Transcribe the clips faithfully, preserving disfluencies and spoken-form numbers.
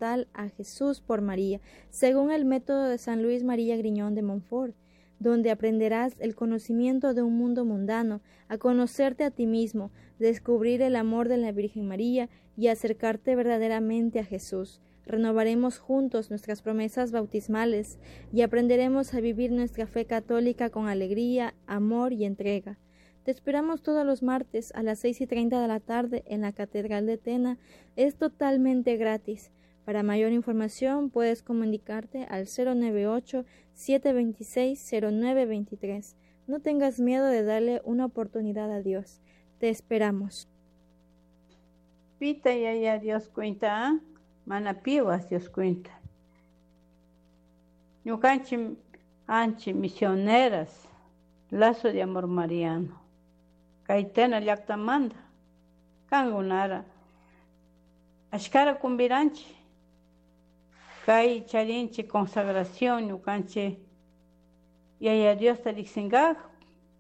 a Jesús por María, según el método de San Luis María Griñón de Montfort, donde aprenderás el conocimiento de un mundo mundano, a conocerte a ti mismo, descubrir el amor de la Virgen María y acercarte verdaderamente a Jesús. Renovaremos juntos nuestras promesas bautismales y aprenderemos a vivir nuestra fe católica con alegría, amor y entrega. Te esperamos todos los martes a las seis y treinta de la tarde en la Catedral de Tena. Es totalmente gratis. Para mayor información puedes comunicarte al cero nueve ocho, siete veintiséis, cero nueve veintitrés. No tengas miedo de darle una oportunidad a Dios. Te esperamos. Pita ya ya Dios cuenta, ¿eh? Mana piwas Dios cuenta. Ñukanchi anchi misioneras, lazo de amor mariano. Kay Tena llaktamanta, kangunara. Ashkara kumbiranchi. Kay charinchi consagración ñukanchi yaya Diosta riqsinkaj,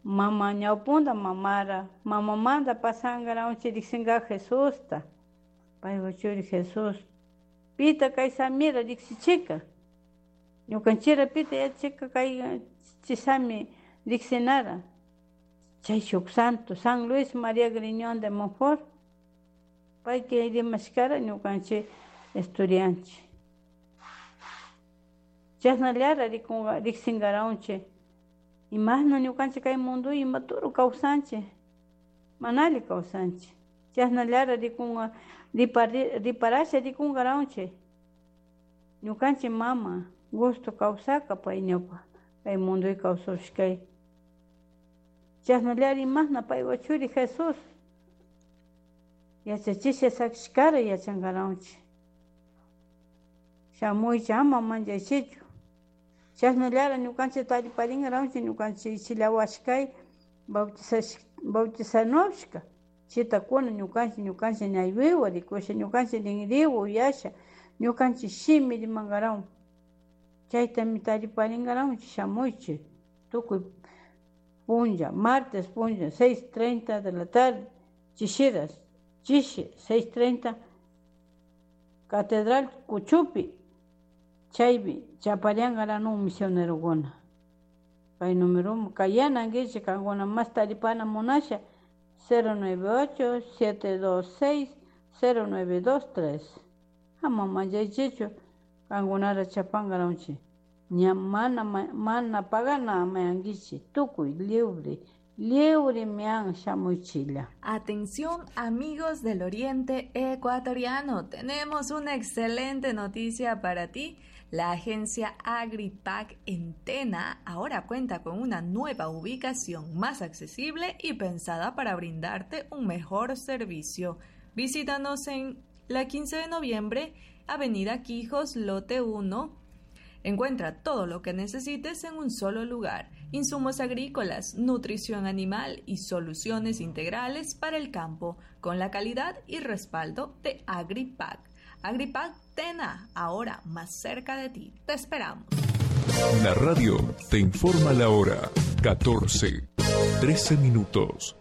mama ñawpunta mamara, mamamanta pasankaranchi riqsinkaj Jesusta, paypa churi Jesús. Pita kay samira riqsichika, ñukanchira pita yachika kay chisami riqsinara. Chay shuk santo, San Luis María Griñón de Montfort, payka rimashkara ñukanchi estudianchi. Chasnallara rikunga riqsinkaranchi. Imashna ñukanchik kay mundu imaturu kawsanchik, manali kawsanchik. Chasnallara rikunga riparasha rikunkaranchik. Ñukanchik mama gusto kawsaka pay ñawpa kay munduy kawsashkay. Chasnallara imashna paypa churi Jesús yachachisha sakishkara yachankaranchik. Shamuychik ama manchaychichu. Chasnallara ñukanchik tariparinkaranchik ñukanchik ichillawashkay bautizanushka. Chitakuna ñukanchik ñukanchik ñaywiwa rikusha ñukanchik rinriwa uyasha ñukanchik shimi rimankarawan. Chaytami tariparinkaranchik shamuychik tukuy punlla, martes punlla, seis treinta de la tarde, chishiras, chishi, seis treinta, Catedral Cuchupi, chaypi chapariankaranu misionerokuna. Kay número kayanankichik kankuna mas taripana munasha cero nueve ocho, siete dos seis, cero nueve dos tres. Ama manchaychichu kankunara chapankaranchik. Ña mana mana pagana mayankichik tukuy libre. Libre mian shamuychilla. Atención amigos del Oriente Ecuatoriano, tenemos una excelente noticia para ti. La agencia AgriPac en Tena ahora cuenta con una nueva ubicación más accesible y pensada para brindarte un mejor servicio. Visítanos en la quince de noviembre, Avenida Quijos, Lote uno. Encuentra todo lo que necesites en un solo lugar. Insumos agrícolas, nutrición animal y soluciones integrales para el campo, con la calidad y respaldo de AgriPac. AgriPac Tena, ahora más cerca de ti. Te esperamos. La radio te informa la hora. catorce, trece minutos.